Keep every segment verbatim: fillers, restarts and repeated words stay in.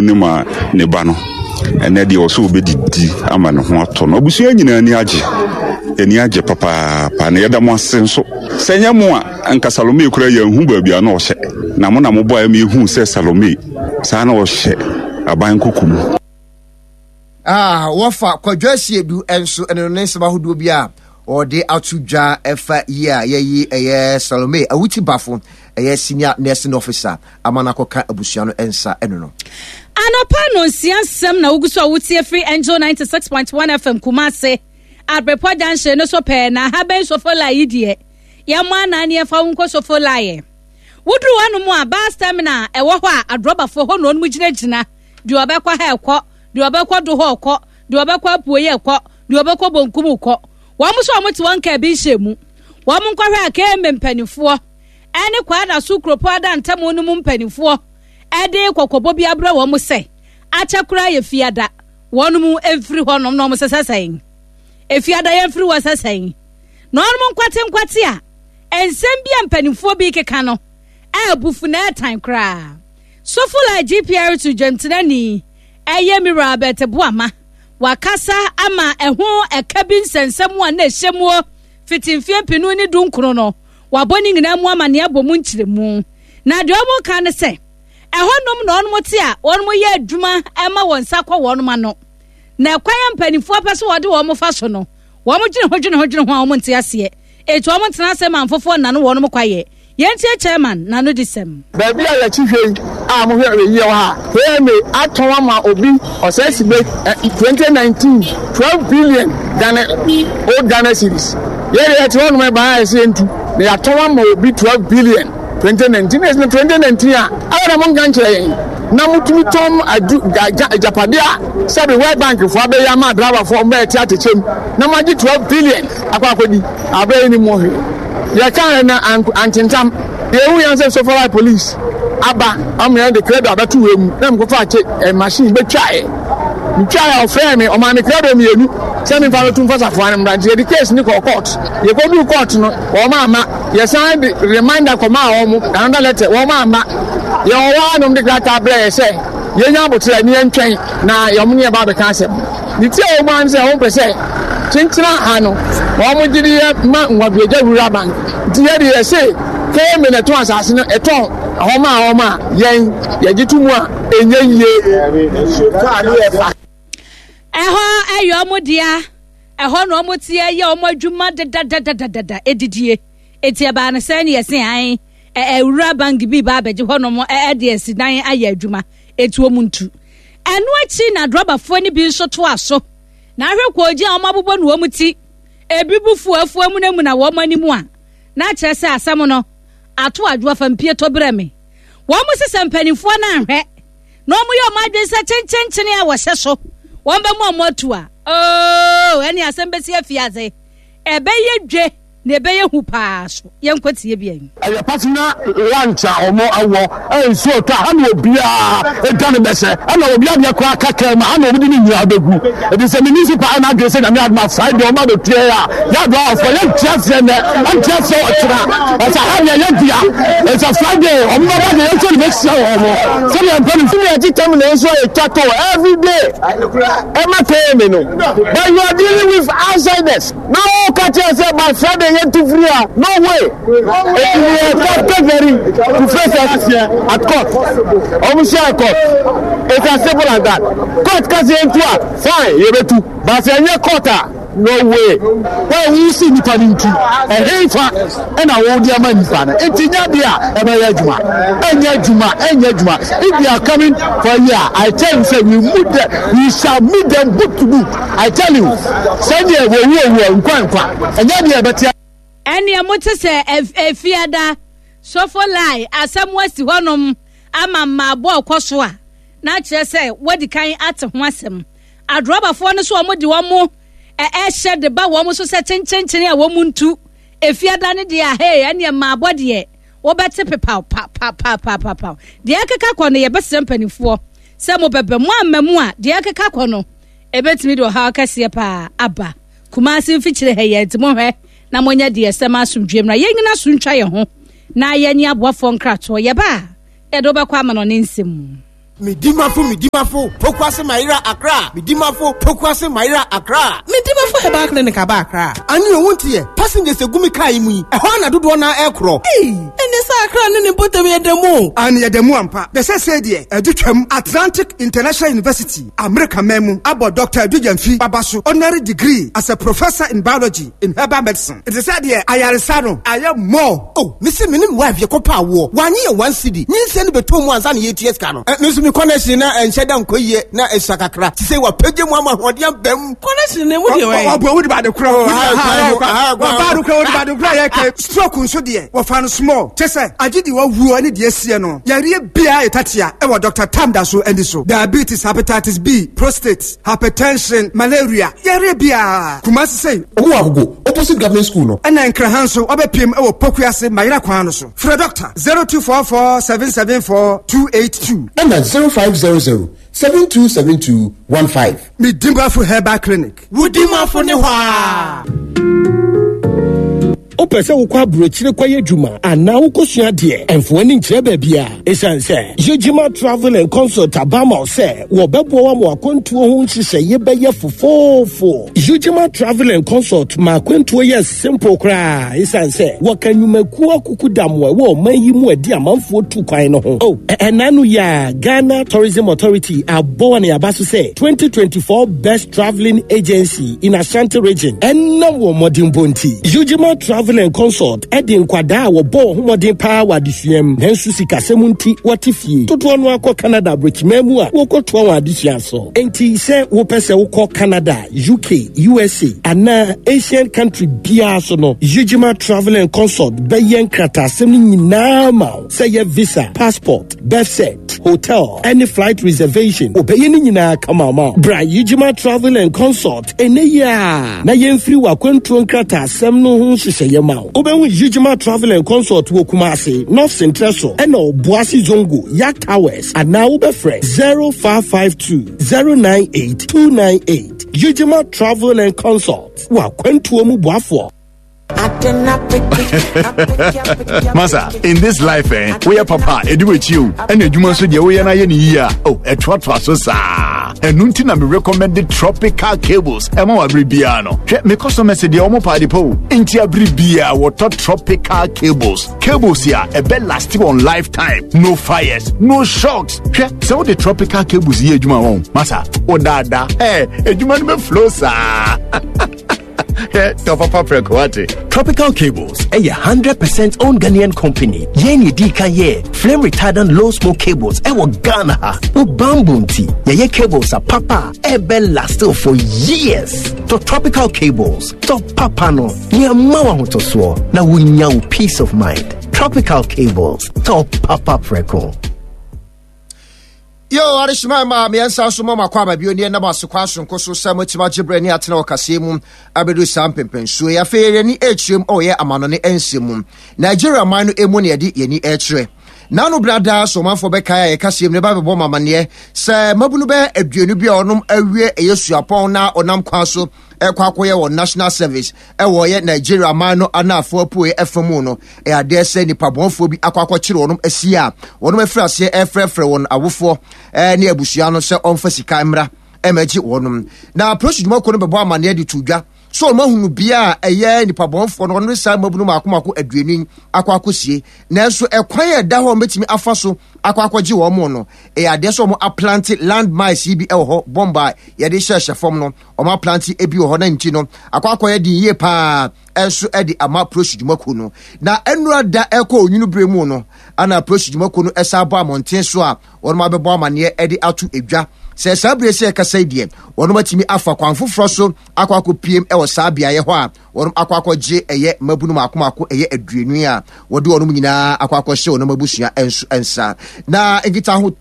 Nim a ne ba no ɛnɛ deɛ ɔsɛ ɔbɛdidi ama ne ho atɔ no. Abusua nyinaa ani agye, ani agye papaapa, na yɛda mo ase nso. Sɛ nyɛ mo a, nka Salome kura yɛnhu baabi a na ɔhyɛ, na mo na mobɔ a ma yɛhu sɛ Salome saa na ɔhyɛ aban koko mu. Ah, wɔfa Kwadwo Asiedu nso ɛno ne nsɛm ahodoɔ bi a ɔde ato dwa ɛfa yi a yɛyi ɛyɛ Salome Awuti Bafo, ɛyɛ senior nursing officer, ama no akɔka abusua no nsa ɛno no. Anɔpa no nsia nsɛm na wogu so a wotie firi Angel ninety-six point one F M Kumase, Abrepɔ junction no so pɛɛ. Na ha bɛn Sofola yi deɛ, yɛmmɔ anan ne yɛmfa wo nkɔ Sofola. Yɛ woduru hɔnom a, bus terminal ɛwɔ hɔ a, adrɔbafoɔ hɔ na ɔnom gyinagyina. Deɛ ɔbɛkɔ ha ɛkɔ, deɛ ɔbɛkɔ do hɔ ɔkɔ, deɛ ɔbɛkɔ apuoyɛ ɛkɔ, deɛ ɔbɛkɔ bonkum kɔ. Wɔn nso a wɔte wɔn kaa bi nhyɛ mu, wɔn nkɔhwɛ a K M A mpanimfoɔ ɛne Kwada so kuropɔn ada ntam no mu mpanimfoɔ ɛde kɔkɔbɔ bi abrɛ wɔn sɛ akyɛ koraa yɛ fiada, wɔn mu mfiri hɔnom, na wɔn sɛ sɛsɛn efiada yɛn mfiri hɔ sɛsɛn, na wɔn nkwate nkwate a nsɛm bi a mpanimfoɔ bi keka no ɛɛbufu na ɛɛtan koraa. Sofola G P R to dwamtenani ɛyɛ Mira Albert Boama wakasa ama ɛho ɛka bi nsɛnsɛm a na ɛhyɛ muo fiti mfeɛ mpinu ne du nkron no, wabɔ ne nyinaa mu ama nea abɔ mu nkyerɛmu. Na deɛ wɔn ka ne sɛ ɛhɔnom na wɔn te a wɔn yɛ adwuma ɛma wɔn nsa kɔ wɔn ano, na ɛkwan a mpanimfoɔ pɛ so wɔde wɔn fa so no, wɔn dwene ho dwene ho dwene ho a wɔn nte aseɛ. Etu wɔn ntena ase ma nfofoɔ nano wɔn kwayɛ. Yɛn tie chairman n'ano di sɛm. Baabi a yɛkyi hwɛ yi a mohwɛ yie wɔ ha, K M A atɔn ama obi ɔsɛ sibe twenty nineteen, twelve billion Ghana, old Ghana cedis. Yɛde yɛte hɔ nom ɛbaa a ɛsɛ yɛntu na yɛatɔn ama obi twelve billion twenty nineteen. Ɛsɛ twenty nineteen a ɛyɛ na monka nkyerɛ yɛn na motumi tɔn adu agyapadeɛ a sɛbi World Bank foɔ abɛyɛ ama driverfoɔ mbɛyɛ te atekyɛm na moagye twelve billion akɔ akɔdi abɛyɛ ni mu hwee. Yɛka na antentam yɛhu yɛn sɛ Sofoline police aba ɔmo yɛn de credo abɛto wɔ mu na mekɔfa akye ɛ machine bɛtwaeɛ. Metwaeɛ, ɔfrɛ me, ɔmaa me credo mmienu sɛ memfa bɛto mfa safoa no mmra. Nti yɛde case ne kɔɔ court. Yɛkɔduu court no, wɔn ama yɛsan de reminder kɔmaa wɔn, another letter, wɔn ama yɛwɔ hɔ anom de krataa brɛ yɛ sɛ yɛnya abotire ne yɛntwɛn na yɛn ne yɛba abɛka asɛm. Ne ti a wɔn an sɛ wɔn pɛ sɛ kyenkyena ha no wɔn gye de yɛ ma Nwabiagya Rural Bank. Nti yɛde yɛse K M A na ɛtɔn asase no, ɛtɔn ɛhɔ ma wɔn a yɛn yɛgye to mu a ɛnyɛ yie. Ɛhɔ ɛyɛ ɔmo dea, ɛhɔ na ɔmo te ɛyɛ ɔmo adwuma dedadadadada edidie. Eti ɛbaa no sɛ ne yɛse an ɛwura bank bi ba abɛgye hɔnom ɛde asi dan ayɛ adwuma, eti ɔmo ntu. Ɛno akyi na drɔbafoɔ no bi nso toa so na ahwɛ kɔɔgye a wɔn abobɔ no wɔn ti, ebi bu fuafuo mu na mu na wɔn anim a na kyerɛ sɛ asɛm no ato adwo afa mpie tɔ brɛ me. Wɔn sesɛ mpanimfoɔ no ahwɛ na wɔn yɛ wɔn adwene sɛ kyenkyenkyene a wɔhyɛ so wɔn bɛ mu a wɔn atu a ooo, ɛne asɛm bɛsi afiase, ɛbɛyɛ dwe na ɛbɛyɛ hu paa. So yɛnkɔ tie bi ayi. Ɛyɛ personal lunch a ɔmo awɔ ɛ nsuo tɔ a ha na obiara edwa ne bɛhyɛ ɛna obi adeɛ koraa kaka mu ha na ɔmo de ne nyinaa bɛgu. Ebi sɛ municipal ɛna adwene sɛ Nyame adoma Friday ɔmo abɛtua yɛ a yɛadɔ afɔ yɛntua seɛ nɛ ɛntua seɛ ɔkyena ɛsɛ ha deɛ yɛdua ɛsɛ Friday ɔmo bɛba deɛ yɛnso ne bɛhyia wɔ ɔmo sɛdeɛ mpɛ no. Ní ẹtí tẹ́mu náà nso yẹ twa every day ẹ má tẹ́ mi no, but you are dealing with outsiders na o ka kyerɛ sɛ by Friday yɛn tu firi a, no way. Eti we are captain ready to face us at court. Ɔmo hyɛ court, it's as simple as that. Court kasi yɛn tu a, fine, yɛ bɛ tu, but sɛ ɛnyɛ court a, no way. Wɔn a wosi nipa no nti ɛhe fa ɛna wɔde ama nipa no nti nya deɛ a ɛbɛyɛ adwuma, ɛnyɛ adwuma, ɛnyɛ adwuma. If they are coming for here, I tell you say we meet them, we shall meet them book to book. I tell you, sɛdeɛ wɔwu owu nkwa nkwa ɛnyɛ deɛ ɛbɛte. Ɛnea mote sɛ efiada Sofoline asɛm asi hɔnom ama mmaabɔ ɔkɔ so a, na kyerɛ sɛ wɔdi kan ate ho asɛm. Adrɔbafoɔ no so wɔn de wɔn ɛhyɛ de ba wɔn so sɛ kyenkyenkyen a wɔn ntu efiada no deɛ a, hei, ɛnea mmaabɔ deɛ wɔbɛte pepaw papapapapapa. Deɛ ɛkeka kɔ no, yɛbɛsrɛ mpanimfoɔ sɛ mo bɛbɛ mo ama mu a, deɛ ɛkeka kɔ no ebɛtumi de ɔhaw kɛseɛ paa aba Kumase mfikyire ha yɛn. Nti mohwɛ na monyɛ deɛ sɛm asomdwe mmra, yɛn nyina so ntwa yɛn ho na yɛnye aboafoɔ nkratoɔ. Yɛba a, yɛde wobɛkɔ ama no ne nsɛm mu. Medimafo Medimafo Pokuase Mayera Accra Medimafo Pokuase Mayera Accra Medimafo Herbal Clinic aba Accra. Ane owu nteɛ passengers egu mi kaa yi mu yi ɛhɔ ana dodoɔ na ɛkorɔ. Ee, ɛne sɛ Accra ne ne mpɔtam yɛ dɛm o. Ane yɛ dɛm ampa. Bɛsɛ sɛ deɛ ɛde twam Atlantic International University America man mu abɔ Doctor Adu Gyamfi baba so honorary degree as a professor in biology in herbal medicine. Nti sɛ deɛ ayaresa no ayɛ more. Oh, mesi me ne me wife yɛ kɔpa awoɔ wanye yɛ one cedi nyinsɛn no bɛtɔ mu ansa na yɛtua sika no. Me nso me connection na ɛnhyɛ da nkɔ yie na ɛsua kakra te sɛ wapagye mu ama ahoɔden aba mu. Connection na emu deɛ wɔyɛ. Ɔbɔ wodi baade kora ɔbaa do kora wodi baade kora yɛ kɛ stroke nso deɛ wɔfa no small kyɛ sɛ agye de wawuo ne deɛ sie no yareɛ biara yɛ tatea ɛwɔ Doctor Tam da so ani so diabetes, hepatitis B, prostate, hypertension, malaria yareɛ biara Kumasi sɛ ɔmo wɔ Agogo opposite government school no. Ɛna Nkraha nso ɔbɛpiem ɛwɔ Pokuase Mayera kwan no so. Frɛ doctor zero two four four seven seven four two eight two. Ɛna zero five zero zero seven two seven two one five. Medimafo Herbal Clinic. Wudimafo ne hɔ a. Wopɛ sɛ wokɔ aburokyire kɔyɛ adwuma anaa wokɔsua deɛ ɛmfo ani nkyerɛ baabi a ɛsiane sɛ Yegyima Travel and Consult aba ma wo sɛ wɔbɛboa wo ama akwantuo ho nhyehyɛeɛ bɛyɛ fofoofo. Yegyima Travel and Consult ma akwantuo yɛ simple koraa ɛsiane sɛ wɔka nnwumakuo akuku dam wɔ ɛwɔ ɔman yi mu adi amanfoɔ tu kwan no ho. Oh, ɛna no yɛ a Ghana Tourism Authority abɔ wɔ ne aba so sɛ twenty twenty-four Best Travelling Agency in Ashanti Region ɛnam wɔ mmɔdenbɔ nti. Yegyima Travel and Consult ɛde nkwadaa a wɔbɔ wɔn ho mmɔden paa wɔ adesua mu nanso sikasɛm nti wɔte fie dodoɔ no akɔ Canada aburokyiman mu a wɔkɔtoa wɔn adesua so. Enti sɛ wopɛ sɛ wokɔ Canada, U K, U S A anaa Asian country biara so no, Yegyima Travel and Consult bɛyɛ nkrataasɛm no nyinaa ma wo sɛ yɛ visa, passport, birth cert, hotel, any flight reservation. Obɛyɛ ne nyinaa kama ma wo. Bra Yegyima Travel and Consult ɛnɛ yi a na yɛmfiri w'akwantuo nkrataasɛm no ho nhyehyɛeɛ ma wo. Wobɛhu Yegyima Travel and Consult wɔ Kumasi, North Central so, ɛna Obuasi Zongo, Yak Towers, anaa wobɛfrɛ zero five five two zero nine eight two nine eight. Yegyima Travel and Consult w'akwantuo mu boafoɔ. Masa, in this life, eh, we are papa, edu you, and you must say, we are not here. Oh, a trot so sa. And nuntina me recommended tropical cables. Emo abribiano. Me customer said the omo party po. Inti abribia water tropical cables. Cables here, a bed lasting on lifetime. No fires, no shocks. So the tropical cables here, Juma, Masa, oh dada, eh, a Juma flow, sir. Tropical Cables, a hundred percent owned Ghanaian company. Yeni D K ye flame retardant low smoke cables. Ewa Ghana. O bamboo tea. Ye cables are papa. Ebe last for years. To Tropical Cables. To papa no. Ni amawa hotoswo. Na wunya peace of mind. Tropical Cables. To papa preko. Yo, Arishma, ma me ansa so mama kwa ba bio ne na masokwa sonko so sa matima gyebre ne atena okase mu abedu sampempensuo ya fe ni ekyirem oye amano ne ensemu Nigeria man no emu ne yɛde yɛni ekyire nanu brada so manfo bɛka ya kase mu ne ba bɛbɔ mamane sɛ mabunu bɛ aduonu bi a ɔnom awie eyesuapɔn na ɔnam kwa so ekwa akoye wɔ national service ɛwɔ ye Nigeria man no anafo apoe efamu no e ade sɛ nipa bonfo bi akwa akɔkyere wɔnom asi a wɔnom afiri ase efrɛfrɛ wɔn awofo e ne abusua no sɛ ɔmfa sika mmra emagye wɔnom na prosi dwuma ko no bɛbɔ amane de to dwa so ɔmo ahunu bia ɛyɛ nipa bonfo no ɔno sa mabunu maako maako aduonu akwa akosie nanso ɛkwan a ɛda hɔ metimi afa so akwa akɔgye wɔn mo no e ade sɛ ɔmo aplante landmines bi ɛwɔ hɔ bomba yɛde hyɛhyɛ fam no ɔmo aplante ebi wɔ hɔ na nti no akwa akɔyɛ din yie paa ɛnso ɛde ama prosi dwumako no na ɛnura da ɛkɔ onwunu bere mu no ana prosi dwumako no ɛsa abɔ amɔnten so a wɔn abɛbɔ amaneɛ ɛde ato edwa sɛ saa bere sɛ ɛkasa yi deɛ wɔn atumi afa kwan foforɔ so akɔ akɔpiem ɛwɔ saa beaeɛ hɔ a wɔn akɔ akɔgye ɛyɛ mabunu mako mako ɛyɛ aduonu a wɔde wɔn nyinaa akɔ akɔhyɛ wɔn abusua ɛnso ɛnsa na nkitaho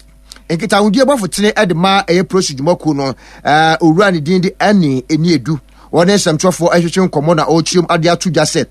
nkitahodie bɔfo tene ɛde ma ɛyɛ prosi dwumako no ɛɛ owura ne din de ɛne eni edu wɔn nsɛmtwerɛfoɔ ɛhwehwɛ nkɔmɔ na ɔrekyerɛm ade ato dwa sɛ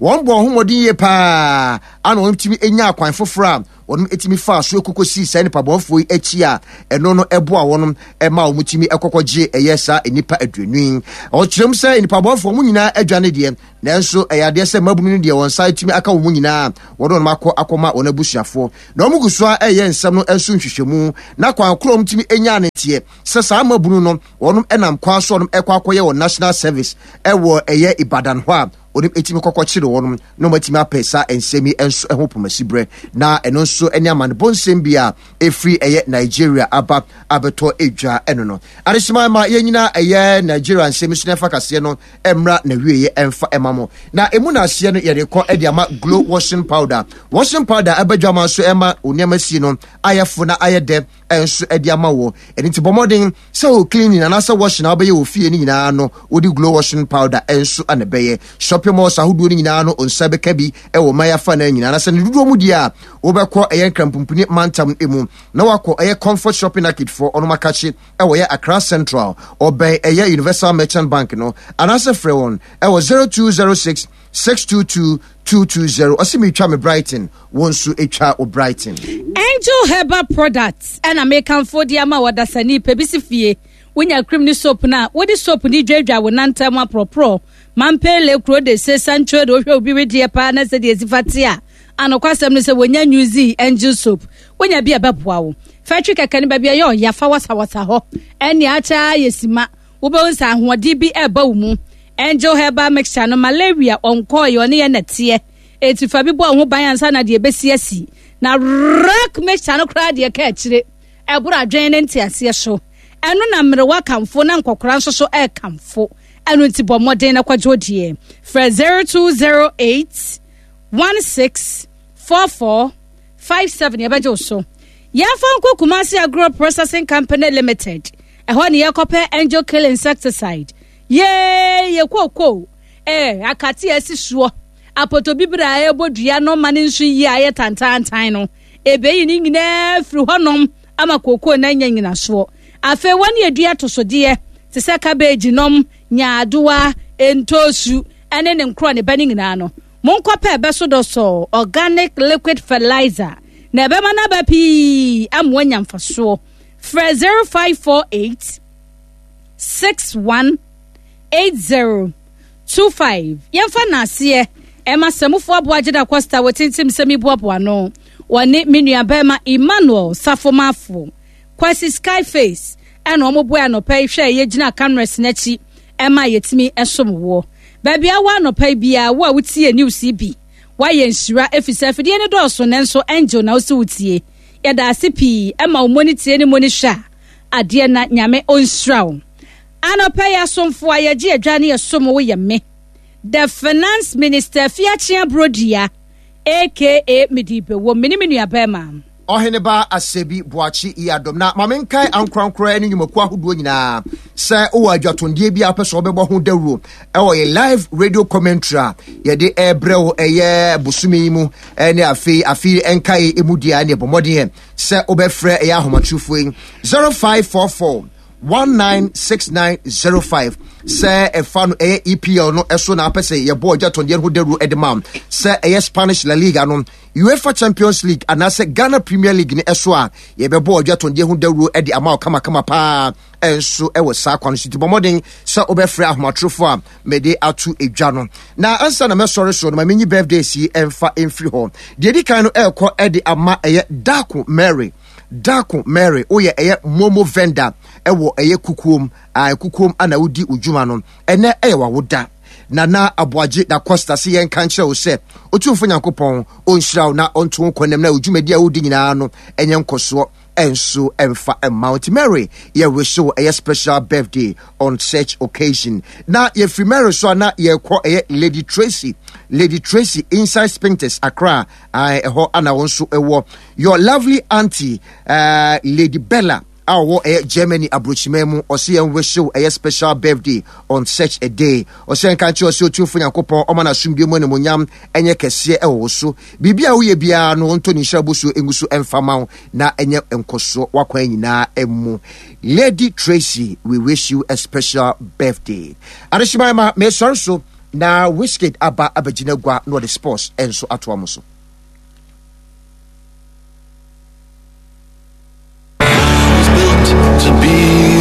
Wɔn bɔ ho mmɔden yie paa ana wɔn tumi nya akwan foforɔ a wɔn tumi fa so ekoko si saa nipa bɔnfoɔ yi akyi a ɛno no ɛboa wɔn ɛma wɔn tumi ɛkɔkɔ gye ɛyɛ saa nipa aduonu yi. Ɔkyerɛm sɛ nipa bɔnfoɔ wɔn nyinaa adwane deɛ, nanso ɛyɛ adeɛ sɛ mmabunu no deɛ wɔn nsa tumi aka wɔn nyinaa wɔde wɔn akɔ akɔma wɔn abusuafoɔ. Na wɔn gu so a ɛyɛ nsɛm no nso nhwehwɛmu na kwan koro wɔn tumi nya ne teɛ sɛ saa mmabunu no wɔn nam kwan so wɔn ɛkɔ akɔyɛ wɔn national service ɛwɔ ɛyɛ Ibadan hɔ a wɔn etimi kɔkɔ kyerɛ wɔn na wɔn atumi apɛ saa nsɛm yi nso ho pomasi brɛ. Na ɛno nso ne amanebɔ nsɛm bi a ɛfiri ɛyɛ Nigeria aba abɛtɔ edwa. Ɛno no adehyema ma yɛn nyinaa ɛyɛ Nigeria nsɛm so na ɛfa kaseɛ no mmra na wie ɛmfa ɛma mo. Na emu na aseɛ no yɛde kɔ ɛde ama Glow washing powder. Washing powder ɛbɛdwa ma nso ɛma onneɛma sie no ayɛ fo na ayɛ dɛ ɛnso ɛde ama wɔ. Ɛno nti bɔ mmɔden sɛ o cleaning anaasɛ washing a wobɛyɛ wɔ fie no nyinaa no, wode Glow washing powder ɛnso ana bɛyɛ. Shopping malls ahodoɔ no nyinaa no nsa bɛka bi ɛwɔ man afa no nyinaa. Na sɛ ne dodoɔ mu deɛ a, wobɛkɔ ɛyɛ Nkrampumpuni mantam mu na wakɔ ɛyɛ Comfort Shopping Arcade foɔ ɔnom akakye ɛwɔ yɛ Accra Central, ɔbɛn ɛyɛ Universal Merchant Bank no, anaasɛ frɛ wɔn ɛwɔ zero two zero six six two two two two zero. Ɔsi mi twa me Brighton, wɔn nso atwa o Brighton. Angel Herbal Products ɛna mekamfo de ama wɔdasani pɛ bi si fie. Wonya cream ne soap no a wode soap ne dwadwa wo nantam aporɔporɔ mampele kuro de se santwo de wohwɛ obi wedeɛ paa na sɛdeɛ esi fa te a, anokwasɛm no sɛ wonya New Angel soap, wonya bi a ɛbɛboa wo fɛtwi kɛkɛ no baabi a ɛyɛ ɔya fa wasawasa hɔ ɛne akyɛ ayɛ sima, wobɛhu sɛ ahoɔden bi ɛreba wo mu. Angel Herbal mixture no, malaria ɔnkɔɔyɛ, ɔne yɛ nɛteɛ eti fa bi bɔ ho ban ansa na deɛ ebesi asi. Na rock mixture no koraa deɛ ka akyire ɛboro adwene ne nteaseɛ so. Ɛno na mmerewa kamfo na nkɔkora nso so ɛrekamfo. Ɛno nti bɔ mmɔden na kɔgye deɛ frɛ zero two zero eight one six four four five seven, yɛbɛgye wo so. Yɛmfa nkɔ Kumasi Agro Processing Company Limited, ɛhɔ ne yɛkɔpɛ Angel Kill insecticide. Yee, yɛ kooko ɛɛ akate a ɛsi soɔ apɔtɔbibire a ɛbɔ dua no ma ne nso yie a ɛyɛ tantantan no, ebeyi ne nyinaa firi hɔnom ama kooko na anya nyinasoɔ. Afei wɔn yɛ dua tosodeɛ te sɛ cabbage nom, nyaadoa, ntoosu ɛne ne nkorɔ ne ba ne nyinaa no, monkɔpɛ ɛbɛ so dɔsɔ organic liquid fertilizer na ɛbɛma n'aba pii ama wanya mfasoɔ. Frɛ zero five four eight six one eight zero two five. Yɛmfa n'aseɛ ɛma sɛmufoɔ aboa gyeda Costa wɔtintim sɛm boaboa no, wɔne me nua bɛrima Emmanuel Safomafo Kwasi Skyface ɛna wɔn boa anɔpa yi hwɛ yɛgyina cameras n'akyi ɛma yɛtumi ɛsom woɔ baabi awɔ anɔpa yi biara. Wo a wotie news yi bi, wayɛ nhyira efisɛ afidie no dɔɔso, nanso Angel na wosi wotie. Yɛda ase pii ɛma wo mɔni tie ne mɔni hwɛ a adeɛ na Nyame ɔnhyira wo. Anɔpa yi asomfo a yɛgye adwa ne yɛsom wo yɛ me, the Finance Minister Fiakyea Brodua, aka Midibewom, me ne me nua bɛrima Ɔheneba Asɛbi Boakye yi adɔm. Na ma menkae ankorankora ne nnwumakuo ahodoɔ nyinaa sɛ wowɔ adwatondeɛ bi a wopɛ sɛ wobɛbɔ ho dawuro ɛwɔ yɛ live radio commentary a yɛde ɛbrɛ wo ɛyɛ bosome yi mu ɛne afei afei ɛnkae ɛmu deɛ ne ɛbɔ mmɔden sɛ wobɛfrɛ ɛyɛ ahomatorofoɔ yi zero five four four one nine six nine zero five. Sɛ ɛfa no ɛyɛ E P L no ɛso na apɛ sɛ yɛbɔ adwatondeɛ no ho dawuro ɛde ma, sɛ ɛyɛ Spanish La Liga no, UEFA Champions League anaasɛ Ghana Premier League ne ɛso a, yɛbɛbɔ adwatondeɛ ho dawuro ɛde ama wo kamakama paa ɛnso ɛwɔ saa kwan so. Nti bɔ mmɔden sɛ wobɛfrɛ ahomatorofo a mede ato edwa no. Na ansa na mɛsɔre so no, ma menyi birthdays yi ɛmfa ɛmfiri hɔ. Deɛ di kan no ɛrekɔ ɛde ama ɛyɛ Dako Mary. Dako Mary, woyɛ ɛyɛ momo vendor ɛwɔ ɛyɛ Kukuom a Kukuom ana wodi odwuma no. Ɛnɛ ɛyɛ wawoda. Nana Aboagye da Costa se yɛnka nkyerɛ wo sɛ Otumfo Nyankopɔn ɔnhyira wo na ɔnto wo kɔnam na odwumadi a wodi nyinaa no ɛnyɛ nkɔsoɔ ɛnso ɛmfa ɛmma wo. Nti Mary, yɛ wish wo ɛyɛ special birthday on such occasion. Na yɛfiri Mary so a, na yɛkɔ ɛyɛ Lady Tracy. Lady Tracy inside Spintex Accra, ɛhɔ ana wɔn nso ɛwɔ. Your lovely auntie, uh, Lady Bella a ɔwɔ ɛyɛ Germany aburokyiman mu, ɔsi yɛn wish wo ɛyɛ special birthday on such a day. Ɔsɛ nka nkyɛn ɔsɛ Otumfo Nyankopɔn ɔma n'asomdwe mu animonyam ɛnyɛ kɛseɛ ɛwɔ wo so. Biribi a woyɛ biara no, ɔntɔ ne nhyira bosuo ngu so ɛmfa ma wo na ɛnyɛ nkɔsoɔ wakwan nyinaa mu. Lady Tracy, we wish you a special birthday. Adehyeman ma mesɔre so. Na Wizkid aba abɛgyina gua na ɔde sports nso atoa mo so.